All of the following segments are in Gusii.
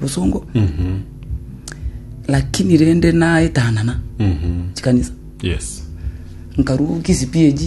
Bosongo. Lakini rende naetanana chikanisa. Yes. Nkarwa Kisii PAG.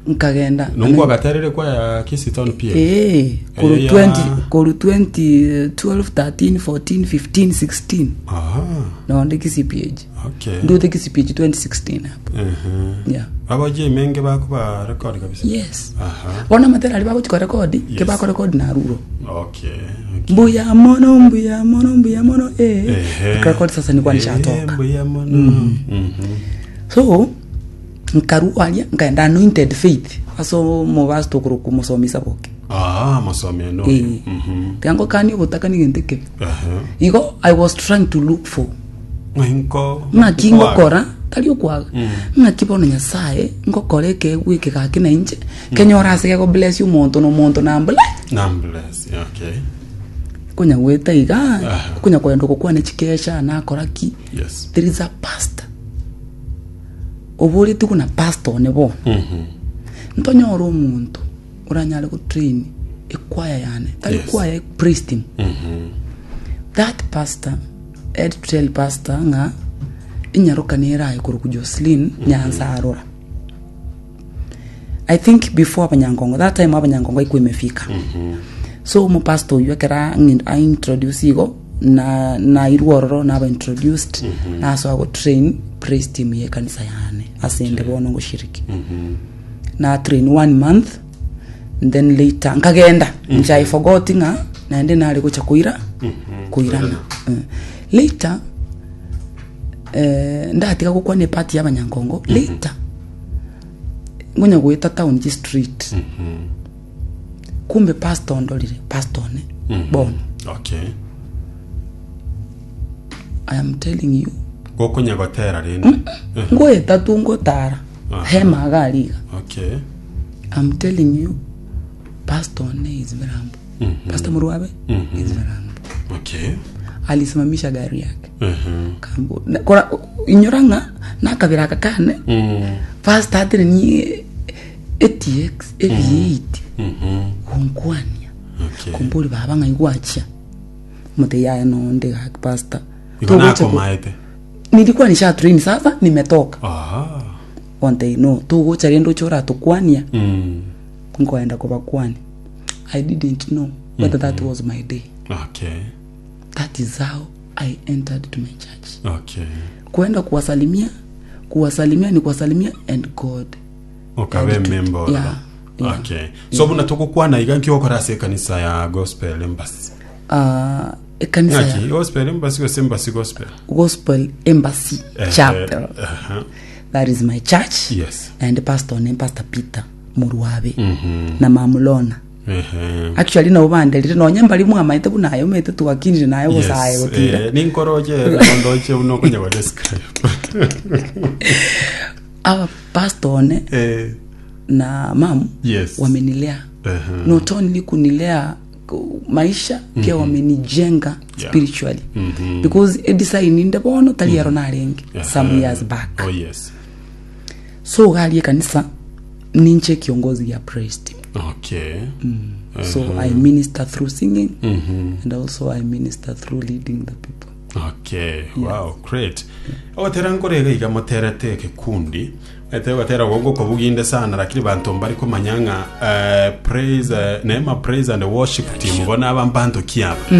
Nkagenda. Nongo agaterire kwa ya Kisii Town PAG. Eh, koru Eya. 20 koru 2012 13 14 15 16 Aha. nonde Kisii PAG. Okay. Ndote Kisii PAG 2016 hapo. Mhm. Yeah. Abaje menge bakuba record kabisa. Yes. Aha. Bono amatera aria bagochi korekodi, Yes. ke bakorekodi naruro. Okay. Okay. Mbuya mono mbuya mono mbuya mono eh. Ehe. Rekodi sasa nilikuwa Eh, nishatoka. mbuya mono. Mhm. So nkarua aria nkaenda anointed faith ase omobasta okorokwa omosomi Saboke. Ah, mosomi eno. Eh. Mhm. Tiga ngokanie obotaka na egento ekebe. Aha. Igo I was trying to look for Ng'ai Ng'aki ngokora, tari okwaga, ng'aki bono Nyasae ngokora ekeegwa eke gaki na inche, kenyore ase gego bless omonto na omonto na mble Nambless, okay. konya goeta iga, Aha. konya kogenda gokwana chikesha nakora ki, Yes. there is a pastor oboretie buna pastor one bono, Mhm. ntonyore omonto oranyare gotrain ekwaya yane, tari Yes. kwaya praise team. Mhm. That pastor Ed tell pastor ng'a enyaroka nere aye korokwa Jocelyn Nyansarora. I think before abanyankongo that time abanyankongo haikuwa imefika. So omopastor oyio ekero ang'in- aintroduce igo na nairwe ororo naba introduced nasoa gotrain praise team ye ekanisa yane ase ende bono ngoshiriki. Na train one month then later nkagenda inche I forgot ng'a naende nare gocha koira koirana Eh. Later eh, ndatiga gokwana epart ya abanyankongo later ngonya goeta town chi street kumbe pastor ondorire pastor one bono Okay. I am telling you Gokonya gotera rende. ngoeta tu ngotara Aha. hema iga aria iga Okay. I'm telling you pastor one is very humble Pastor Murwabe is very humble Okay. alisimamisha gari yake Mhm. kambo na- kora inyora ng'a nakabera aka kane Mm. pastor atire ni ATX V8 Mhm. gonkwania Okay. kumbori baba ng'ai gwachia mote yaya nonde gaki pastor Igo Togocha ko- nakomaete. nilikuwa nisha train sasa nimetoka Aha. onte no togocha rende oche oratokwania Mm. nkoenda kobakwania i didn't know whether that was my day Okay. that is how i entered to my church Okay. kuenda kuwasalimia kuwasalimia ni kuwasalimia and god Okabe And to- member ororo. yeah, yeah. Okay. So buna togokwana iga nki ogokora ase ekanisa ya gospel embassy. uh, ekanisa Ng'aki ya gospel embassy gose embassy gospel? gospel embassy Eh, chapel eh, aha. that is my church Yes. and pastor ne pastor peter murwabe na mamulona Ehe. actually nabo banderire nonya mbari mwamaete buna aye omanyete twakinire naye bosaye Yes. gotira Eh, ninkoroche nondoche buna okonya go describe. aba pastor one Eh, na mam Yes. wamenilea Ehe. not only kunilea maisha pia wamenijenga Yeah. spiritually because edesign inde bono tari ero narenge some years back Oh yes. so garie ekanisa ninche kiongozi ya praise team Okay. so i minister through singing and also i minister through leading the people Okay, wow, great. Ogotera nkore iga iga moterete ekekundi ete ogotera ogo ngokobuginde sana lakini banto mbari komanya ng'a eh, praise eh, Neema praise and worship team bono aba mbanto ki aba.